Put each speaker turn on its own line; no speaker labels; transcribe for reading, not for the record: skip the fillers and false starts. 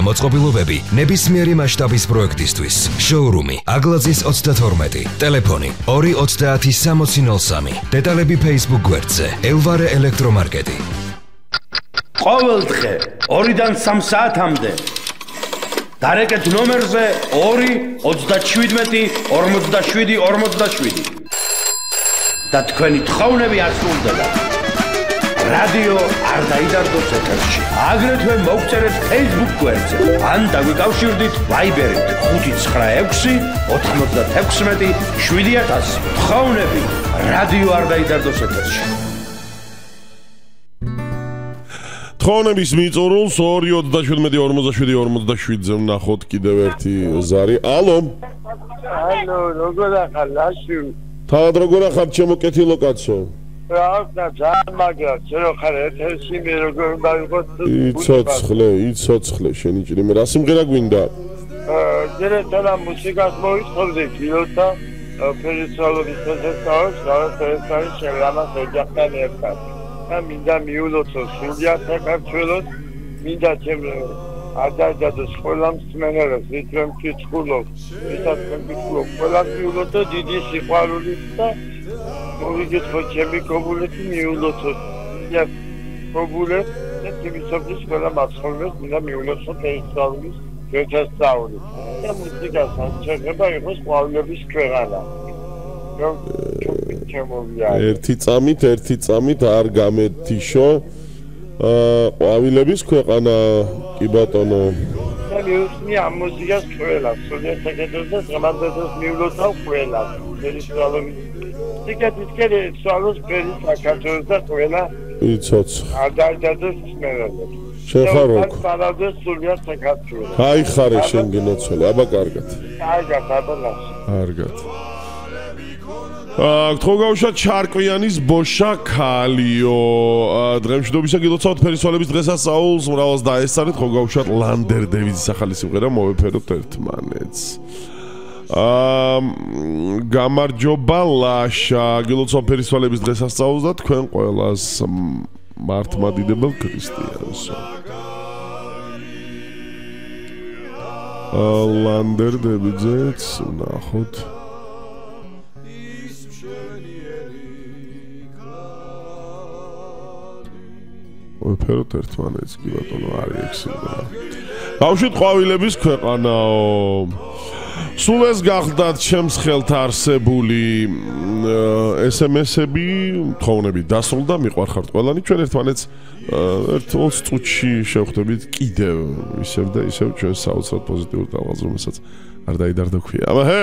მოწყობილობები ნებისმიერი მასშტაბის პროექტისთვის. შოურუმი აგლაძის 32, ტელეფონი 2306003. დეტალები Facebook გვერდზე. ელვარე ელექტრომარკეტი.
ყოველ დღე 2-დან 3 საათამდე დარეკეთ ნომერზე 2-37-47-47 და თქვენი თხოვნები ასრულდება. რადიო არ დაიდარდოს ეთერში. აგრეთვე მოგწერეთ Facebook გვერდზე ან დაგვიკავშირდით Viber-ით 596-96-7000. თხოვნები რადიო არ დაიდარდოს ეთერში.
თხოვნების მიწურულს 2-37-47-47-ზე ვნახოთ კიდევ ერთი ზარი. ალო.
ალო, როგორ ახალ ლაში?
თავად როგორ ახალ ჩემო კეთილო კაცო?
რა ძალიან მაგრამ შენ ხარ ეთერში მე როგორ დავიღოთ?
იცოცხლე შენი ჭრიმე რა სიმღერა გვინდა?
ჯერეთანა მუსიკას მოიწოდე ფილოთა ფერისალობის შესაძლოა რაღაცა შეგამას ოჯახთან ერთად. და მინდა მიულოცო სულიად საქართველოს, მინდა ჩემ ადარდადოს ყველა მსმენელს, ვიტრემ კითხულობ, ვისაც მეკითხულობ, ყველა მიულოცო დიდი სიყვარულით და მოვიგეთხო ჩემი კობულეთი მიულოცოთ. და კობულეთ და თვითონ ყველა მაცხოვრებს მინდა მიულოცო ფერისალობის შესაძლოა. და მუსიკას აღჭერება იყოს ყვავილების ქვეყანა. ერთი წამით არ გამეთიშო ყვავილების ქვეყანა კი ბატონო. და მიუსმი ამ მუსიკას ყველას, სულიერ საკეთებს გამანდებას მიულოცავ ყველას. ფერისალობის სიკეთისკერე სალოს ფერის საკათოს და ყველა
იცოცხლე.
ადარდადოს მსმენელებს.
შეხარო.
სალადეს სულიერ საკათოს.
გაიხარე შენ გინოცოლე, აბა კარგად. კარგად. გთხოვავშა ჩარკვიანის ბოშა ქალიო. დღემშვიდობისა გილოცავთ ფერისვალების დღესასწაულს, მრავალს დაესწარეთ, გთხოვავშათ ლანდერ დევიდის ახალი სიმღერა მოვეფეროთ ერთმანეთს. გამარჯობა ლაშა, გილოცავ ფერისვალების დღესასწაულს და თქვენ ყველას მართლმადიდებელ ქრისტიანს. ლანდერ დევიძეც ნახოთ. ვეფეროთ ერთმანეთს კი ბატონო არის ეგ სიმღერა. ბავშვით ყვავილების ქვეყანაო. სულ ეს გახდათ ჩემს ხელთ არსებული SMS-ები, თხოვნები დასრულდა, მიყვარხართ ყველანი. ჩვენ ერთმანეთს 20 წუთში შევხვდებით კიდევ ისევ და ისევ ჩვენ საოცრად პოზიტიურ ტალღაზე, რომელსაც არ დაიდარდა ქვია. აბა ჰე